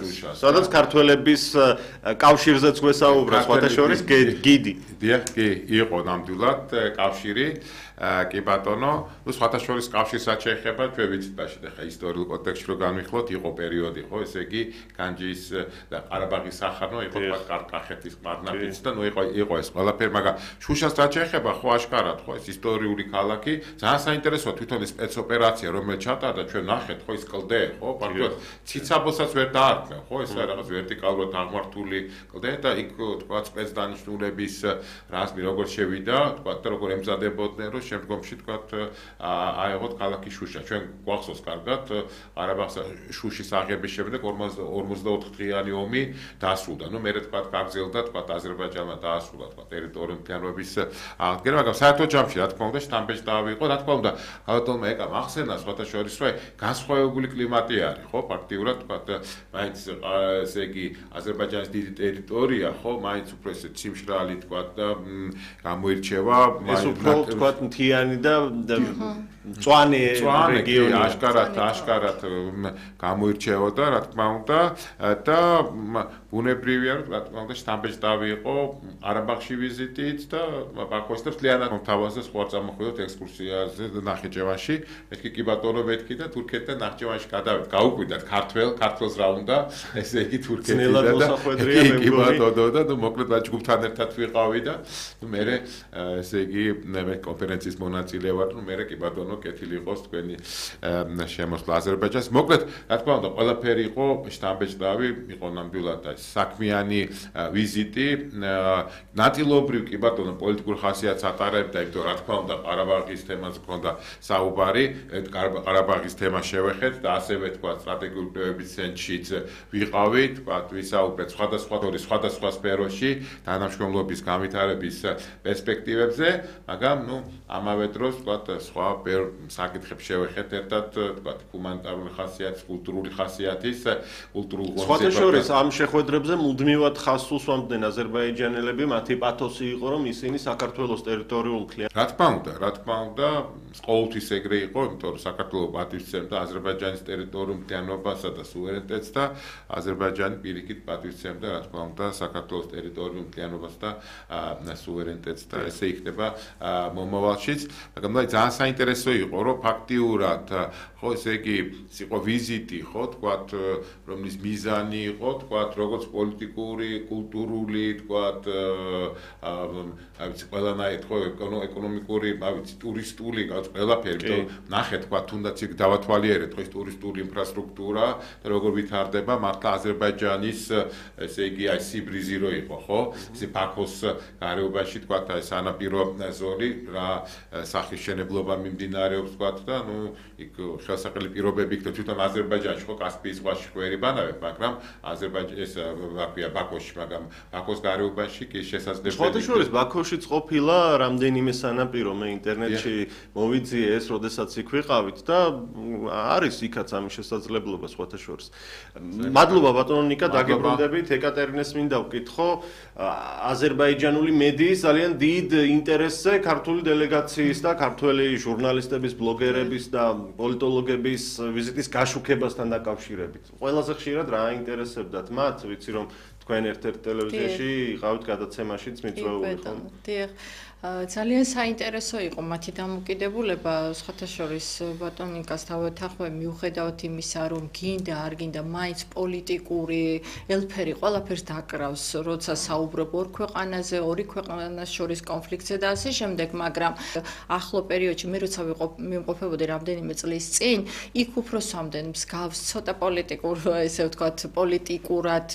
შუშას. სადაც ქართველების კავშირზეც გვესაუბრა სხვათა შორის გიდი. დიახ, კი, იყო ნამდვილად კავშირი. კი ბატონო, ну სხვათა შორის კავშირს რაც შეეხება, ჩვენ ვიცით მაშინ ახლა ისტორიულ კონტექსტში რო განვიხილოთ, იყო პერიოდი, ხო, ესე იგი განჯის და ყარაბაღის სახანო, იყო კახეთის ყარნაფიც და ну იყო ეს ყველაფერი, მაგრამ შუშას რაც შეეხება, ხო აღკარად, ხო, ეს ისტორიული ქალაქი, ძალიან საინტერესოა თვითონ ეს სპეცოპერაცია, რომელიც ჩატარდა, ჩვენ ნახეთ, ხო, ის კლდე, ხო, ფაქტობრივად ციცაბოსაც ვერ დაარქმევ, ხო, ეს რაღაც ვერტიკალურად აღმართული კლდე და იქ თქვა სპეცდანიშნულების რაზმი როგორ შევიდა, თქვა და როგორ ემზადებოდნენ, რომ შემდგომში თქვათ აეღოთ ქალაქი შუშა. ჩვენ გვახსოვს კარგად ყარაბაღის შუშის აღების შემდეგ 54 დღიანი ომი დასრულდა. ნუ მერე თქვათ გაგრძელდა თქვათ აზერბაიჯანმა დაასრულა თქვათ ტერიტორიული მთლიანობის აღდგენა, მაგრამ საერთო ჯამში რა თქმა უნდა შთამბეჭდავი იყო, რა თქმა უნდა ბატონმა ეკა ახსენა სხვათა შორის რომ განსხვავებული კლიმატი არის, ხო, ფაქტიურად თქვათ მაინც ესე იგი აზერბაიჯანის დიდი ტერიტორია, ხო, მაინც უფრო ესე ციმშრალი თქვათ და გამოირჩევა ეს უფრო თქვათ მთიანი და მწვანე რეგიონი აშკარად გამოირჩეოდა, რა თქმა უნდა და ბუნებრივია, რომ რა თქმა უნდა შთამბეჭდავი იყო ყარაბაღში ვიზიტით და ბაქოში და მთლიანად თავაზე სხვა წამოხვიდოთ ექსკურსიაზე ნახიჩევანში. მეთქი კი ბატონო მეთქი და თურქეთთან ნახიჩევანში გადავედი. გაუკვირდათ ქართველს რა უნდა, ესე იგი თურქეთიდან და კი ბატონო და ნუ მოკლედ რა ჯგუფთან ერთად ვიყავი და ნუ მე ესე იგი მე კონფერენციის მონაწილე ვარ, ნუ მე კი ბატონო კეთილი იყოს თქვენი შემოსვლა აზერბაიჯანს. მოკლედ, რა თქმა უნდა, ყველაფერი იყო შთამბეჭდავი, იყო ნამდვილად საქმიანი ვიზიტი. ნაწილობრივ კი ბატონო პოლიტიკურ ხასიათს ატარებდა, იმიტომ რა თქმა უნდა, ყარაბაღის თემას ჰქონდა საუბარი, ყარაბაღის თემა შევეხეთ და ასევე თქვა სტრატეგიული კვლევების ცენტრშიც ვიყავი, თქვა ვისაუბრეთ სხვადასხვა სფეროში თანამშრომლობის განვითარების პერსპექტივებზე, მაგრამ ნუ ამავე დროს თქვა სხვა საკითხებს შევეხეთ ერთად, თქვა ჰუმანიტარული ხასიათის, კულტურული ხასიათის, კულტურულ სხვათა შორის ამ შეხვედრებზე მუდმივად ხაზს უსვამდნენ აზერბაიჯანელები, მათი პათოსი იყო, რომ ისინი საქართველოს ტერიტორიულ მთლიანობას. რა თქმა უნდა, ყოველთვის ეგრე იყო, იმიტომ რომ საქართველო პატივისცემდა აზერბაიჯანის ტერიტორიულ მთლიანობასა და სუვერენიტეტს და აზერბაიჯანი პირიქით პატივისცემდა, რა თქმა უნდა, საქართველოს ტერიტორიულ მთლიანობას და სუვერენიტეტს და ესე იქნება მომავალშიც, მაგრამ ძალიან საინტერესო იყო, რომ ფაქტიურად ხო ესე იგი იყო ვიზიტი, ხო თქვათ, რომლის მიზანი იყო, თქვათ, როგორც პოლიტიკური, კულტურული, თქვათ, ყველანაირ ხო ეკონომიკური, ტურისტული, ყველაფერი, ნახეთ, თქვათ, თუნდაც იქ დავათვალიერეთ, ხო ეს ტურისტული ინფრასტრუქტურა და როგორ ვითარდება, მართლა აზერბაიჯანის ესე იგი აი სიბრიზი რო იყო, ხო? ესე ბაქოს გარეუბანში, თქვათ, აი სანაპირო ზოლი რა სახის შენებლობა მიმდინარეობს, თქვათ და ნუ იქ ხელსაყრელი პირობები იქ თვითონ აზერბაიჯანში ხო კასპიის ზღვაში გვერიბანავებ, მაგრამ აზერბაიჯანის ბაქოში, მაგრამ ბაქოს გარეუბანში კი შესაძლებელი. სხვათა შორის ბაქოშიც ყოფილა რამდენიმე სანაპირო, მე ინტერნეტში მოვიძიე ეს, როდესაც იქ ვიყავით და არის იქაც ამის შესაძლებლობა სხვათა შორის. მადლობა ბატონო ნიკა, დაგებრუნდებით. ეკატერინეს მინდა ვკითხო, აზერბაიჯანული მედიის ძალიან დიდ ინტერესზე ქართული დელეგაციის და ქართველი ჟურნალისტების, ბლოგერების და პოლიტოლოგების ვიზიტის გაშუქებასთან დაკავშირებით. ყველაზე ხშირად რა აინტერესებდათ მათ? ვიცი რომ თქვენ ერთ-ერთ ტელევიზიაში იყავით გადაცემაშიც მიწვეული ხო? დიახ. ძალიან საინტერესო იყო მათი დამოკიდებულება, სხვათა შორის ბატონიკას დავეთანხმე მიუხედავად იმისა, რომ გინდა არ გინდა მაინც პოლიტიკური ელფერი ყველაფერს დაკრავს, როცა საუბრობ ორ ქვეყანაზე, ორი ქვეყანას შორის კონფლიქტზე და ასე შემდეგ, მაგრამ ახლო პერიოდში მე როცა მიმყოფებოდი რამდენიმე წლის წინ, იქ უფრო სვამდნენ მსგავს ცოტა პოლიტიკურ, ესე ვთქვათ, პოლიტიკურად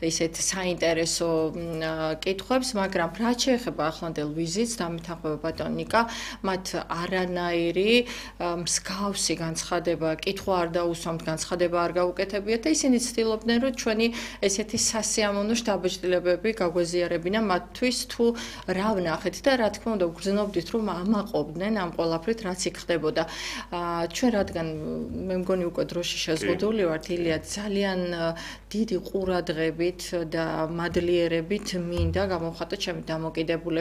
ისეთ საინტერესო კითხვებს, მაგრამ რაც შეეხება ახლანდელ ვიზიტს დამეთანხმება ბატონიკა, მათ არანაირი მსგავსი განცხადება, კითხვა არ დაუსვამთ, განცხადება არ გაუკეთებიათ და ისინი ცდილობდნენ, რომ ჩვენი ესეთი სასიამოვნო შთაბეჭდილებები გაგვეზიარებინა მათთვის თუ რა ვნახეთ და რა თქმა უნდა ვგრძნობდით, რომ ამაყობდნენ ამ ყველაფრით, რაც იქ ხდებოდა. ჩვენ რადგან მე მგონი უკვე დროში შეზღუდული ვართ, ილია ძალიან დიდი ყურადღებით და მადლიერებით მინდა გამოვხატოთ ჩემი დამოკიდებულება